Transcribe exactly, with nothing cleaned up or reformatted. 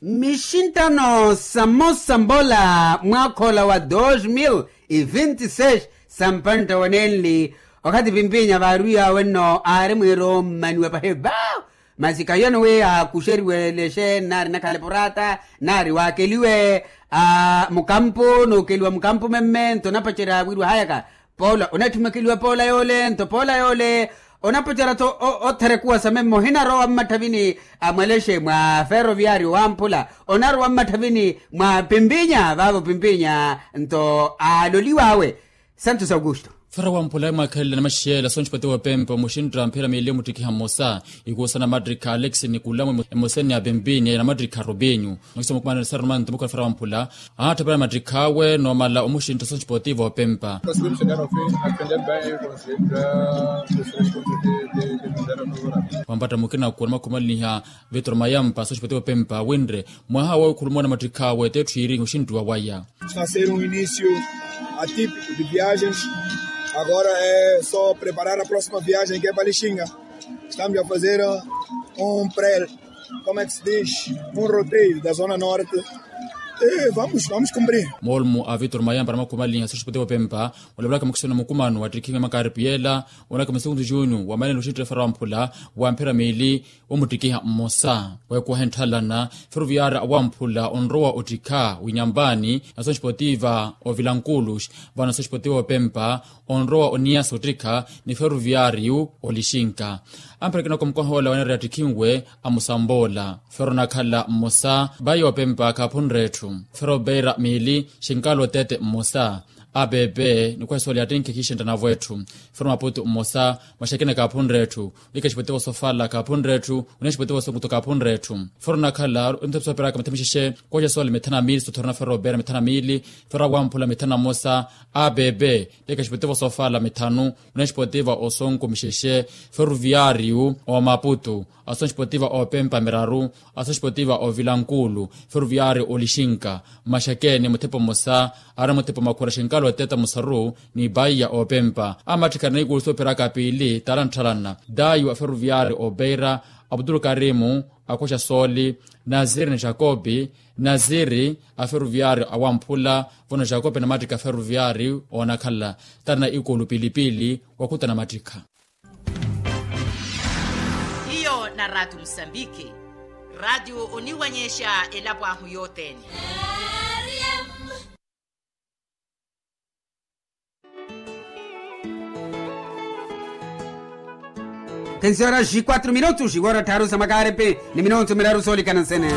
Mixinttano samosa mbola mwaakha ola wa dos mil e vinti seis, sampantta wa nenli, okathi pimpinya vaarwiyawe nno aari mwiirommaniwa pahipa. Masi kahiyano wi akuxeriwe lexe nari nakhale porata, nari waakeliwe mukampu nookeliwa mukampu memme nto onapacerya wiriwa hayaka. Poola onatthumekeliwa poola yoole nto poola yoole onapacerya-tho. Otherekuwa sa memme ohinarowa mmatthavini a mwalexe mwa ferroviario wamphula onarowa mmatthavini mwa pimpinya vaavo pimpinya nto aaloliwaawe. Santos augusto. Fera wamphula mwaakhelele namaxiyela sonxipati wopempa muxintta mphira miili omuttikiha mmosa. Ikuusa namattikha alex nikulamu emoseni ya pimpinya ya namattikha rupinyu. Nokisa mukumanani sara nomanto mukhwela fera wamphula aatthapela mattikhaawe noomala omuxintta sonxipoti voopempa. Wampatta mukina kuwa namakhumaliha vitoro mayampa sonxipoti voopempa winre mwaha wowikhuluma na mattikhaawe tetthu iiri oxinttuwa waya. Está a ser um início atípico de viagens. Agora é só preparar a próxima viagem que é para Lixinga. Estamos a fazer um pré, como é que se diz? Um roteio da Zona Norte. E vamos, vamos cumprir. Moolmo a vitor mayampa na makhumaliha sosipoteva opempa olavelaka mukisoni na mukumano wa ttikhinga makaripiela onaka masikuntu junior wa manene oxinttela fera wamphula wa mphira miili. Womuttikiha mmosa weekuwaha entthalana feruviyaari awamphula onrowa ottikha winyampani na sosipoteva ovilankulus vano sosipoteva opempa onrowa oniyasa ottikha ni feruviyaariyu olixinka. Amperekinaka omukoha ola waneereya ttikhinwe amusamboola fero onakhala mmosa bayi opempa kaaphunre etthu fero opeira miili xinkala otete mmosa apepe nikuhesa oli attinkhe khixentta navo etthu fero maputu mmosa maxekene kaaphunre etthu. Ika exipoteva osofala kaaphunre etthu. Oneya exipoteva osonkuto kaaphunre etthu fero onakhala ontepi sooperaka mithanu mixexe kuwaxa soole mithanu na miili sothorona fero opeira mithanu na miili fero awamphula mithanu na mmosa apepe. Ika exipoteva osofala mithanu oneya exipoteva osonku mixexe feruviyaariyu omaputu asoxipoteva opempa miraru asoxipoteva ovilankuulu feruviyaari olixinka maxekene muthepa mmosa aari muthepa makhura xinkalo eteta musaru ni paiya opempa amattikha na ikuulu sooperaka piili taala ntthalana dayu a feruviyaari opeira abutulu karimu akhoxa sooli naziri ni jakopi naziri a feruviyaari awamphula vano jakopi namattikha feruviyaari oonakhala taala na ikuulu piili piili wakhuta namattikha. Hiyo na ratu musambiki ratu oniwanyexa elapo ahu yothene. Tensiora xi quatru minutu xiwora tharu sa makarepe ni minutu miraru soolikana nsene.